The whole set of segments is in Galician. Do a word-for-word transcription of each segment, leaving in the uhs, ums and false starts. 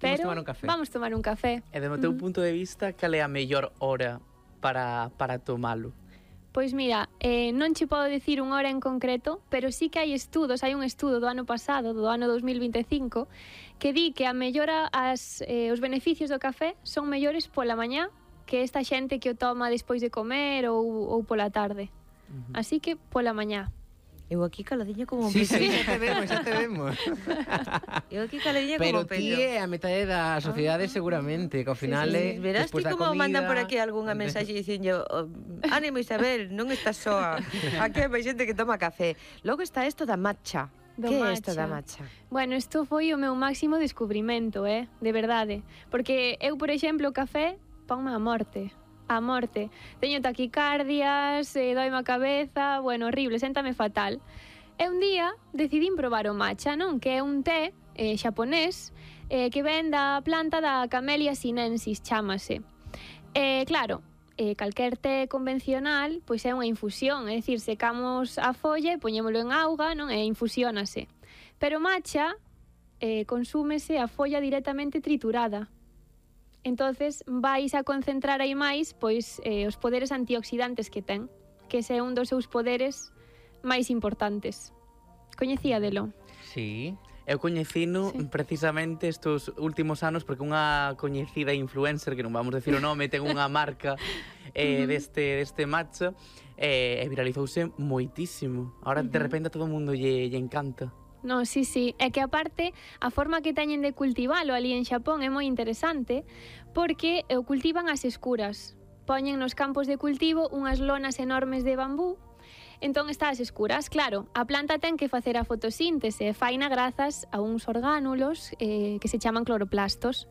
Pero tomar un café. Vamos tomar un café. E do teu uh -huh. punto de vista, cal é a mellor hora para, para tomalo? Pois mira, eh, non che podo dicir unha hora en concreto, pero sí que hai estudos, hai un estudo do ano pasado, do ano dos mil vinte e cinco, que di que a mellora as, eh, os beneficios do café son mellores pola mañá que esta xente que o toma despois de comer ou, ou pola tarde. Uh -huh. Así que pola mañá. Eu aquí caladiña como un sí, peixo. Sí, xa te vemos, xa te vemos. Eu aquí caladiña como un peixo. Pero ti é a metade da sociedade seguramente, que ao final sí, sí. é Verás ti como comida... mandan por aquí algunha mensaxe dicindo oh, ánimo Isabel, non estás soa. Aquí hai máis xente que toma café. Logo está isto da matcha. Do que matcha. é isto da matcha? Bueno, isto foi o meu máximo descubrimento, eh? De verdade. Porque eu, por exemplo, o café ponme a morte. A morte. Teño taquicardias, eh, doime a cabeza, bueno, horrible, séntame fatal. E un día decidín probar o matcha, non? Que é un té eh, xaponés eh, que ven da planta da Camellia sinensis, chámase. Eh, claro, eh, calquer té convencional pois é unha infusión, é dicir, secamos a folla e poñémolo en auga, non? E infusiónase. Pero o matcha eh, consúmese a folla directamente triturada. Entonces vais a concentrar aí máis pois eh, os poderes antioxidantes que ten, que ese é un dos seus poderes máis importantes. Coñecía delo? Sí, eu coñecino sí. precisamente estes últimos anos porque unha coñecida influencer, que non vamos decir o nome, ten unha marca eh, uh -huh. deste, deste matcha eh, e viralizouse moitísimo. Ahora uh -huh. de repente a todo o mundo lle, lle encanta. No, sí, sí, é que aparte a forma que teñen de cultivalo ali en Xapón é moi interesante porque o cultivan as escuras. Poñen nos campos de cultivo unhas lonas enormes de bambú, entón está as escuras. Claro, a planta ten que facer a fotosíntese e faina grazas a uns orgánulos eh, que se chaman cloroplastos.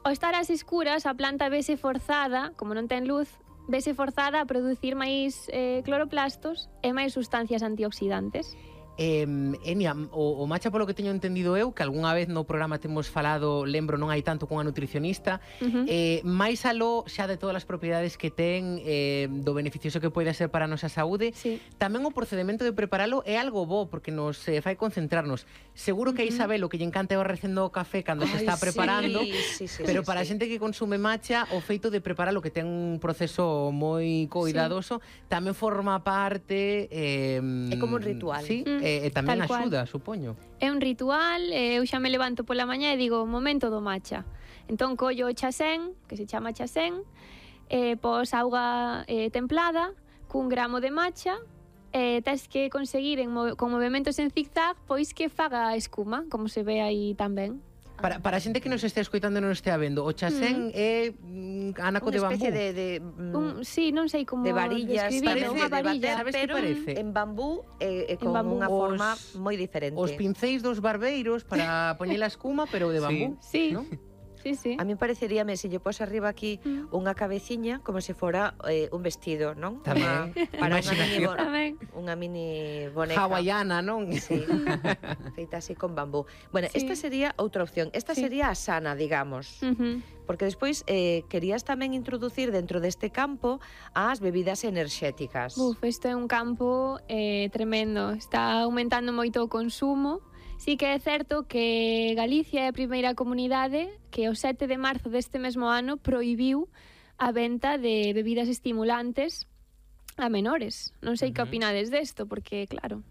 Ao estar as escuras, a planta vese forzada, como non ten luz, vese forzada a producir máis eh, cloroplastos e máis sustancias antioxidantes. Eh, Enia, o, o matcha polo que teño entendido eu, que algunha vez no programa temos falado, lembro, non hai tanto cunha nutricionista, uh -huh. eh, máis aló xa de todas as propiedades que ten, eh, do beneficioso que pode ser para a nosa saúde, sí. tamén o procedimento de preparalo é algo bo, porque nos eh, fai concentrarnos. Seguro que a Isabel o que lle encanta é o recendo o café cando Ay, se está preparando, sí, sí, sí, pero sí, para a sí. xente que consume matcha, o feito de preparalo, que ten un proceso moi cuidadoso, sí. tamén forma parte... Eh, é como un ritual. Sí, mm. E, e tamén axuda, supoño. É un ritual, eu xa me levanto pola mañá e digo, momento do matcha. Entón collo o chasén, que se chama chasén, eh, pos auga eh, templada, cun gramo de matcha, e eh, tes que conseguir en, con movimentos en zigzag, pois que faga espuma, como se ve aí tamén. Para, para a xente que nos este escoitando e non estea vendo, o chasén mm. é mm, anaco de bambú. Unha especie de... de mm, un, sí, non sei como de varillas, parece, unha varilla, sabes pero que parece? En bambú e eh, con bambú. unha forma Os, moi diferente. Os pincéis dos barbeiros para poñer a espuma, pero de bambú. Sí, sí. ¿no? Sí, sí. A mí pareceríame, se lle pos arriba aquí mm. unha cabeciña como se fora eh, un vestido, non? Tamén. Uma, para unha mini, bo, Tamén. unha mini boneca. Hawaiana, non? Sí, feita así con bambú. Bueno, sí. esta sería outra opción. Esta sí. sería a sana, digamos. Uh -huh. Porque despois eh, querías tamén introducir dentro deste campo as bebidas enerxéticas. Uf, isto é un campo eh, tremendo. Está aumentando moito o consumo. Sí que é certo que Galicia é a primeira comunidade que o sete de marzo deste mesmo ano prohibiu a venta de bebidas estimulantes a menores. Non sei uh -huh. que opinades desto, porque claro...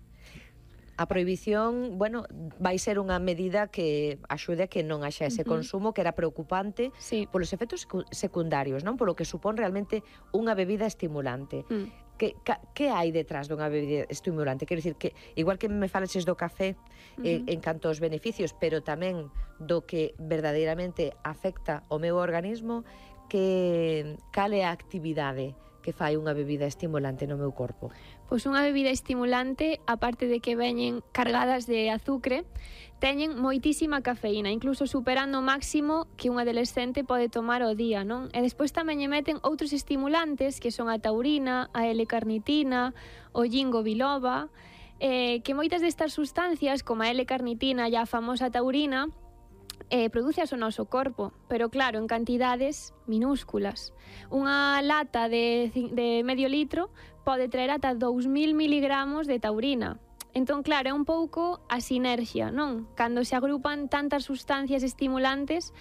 A prohibición, bueno, vai ser unha medida que axude a que non haxa ese uh -huh. consumo, que era preocupante sí. polos efectos secundarios, non? Polo que supón realmente unha bebida estimulante. Mm. Que, que hai detrás dunha bebida estimulante? Quero dicir que, igual que me falaches do café uh -huh. eh, en canto aos beneficios, pero tamén do que verdadeiramente afecta o meu organismo, que cal é a actividade que fai unha bebida estimulante no meu corpo? Pois unha bebida estimulante, aparte de que veñen cargadas de azucre, teñen moitísima cafeína, incluso superando o máximo que un adolescente pode tomar ao día, non? E despois tamén lle meten outros estimulantes, que son a taurina, a L-carnitina, o ginkgo biloba, eh, que moitas destas sustancias, como a L-carnitina e a famosa taurina, Eh, produce o noso corpo, pero claro, en cantidades minúsculas. Unha lata de, de medio litro pode traer ata dous mil miligramos de taurina. Entón, claro, é un pouco a sinerxia, non? Cando se agrupan tantas sustancias estimulantes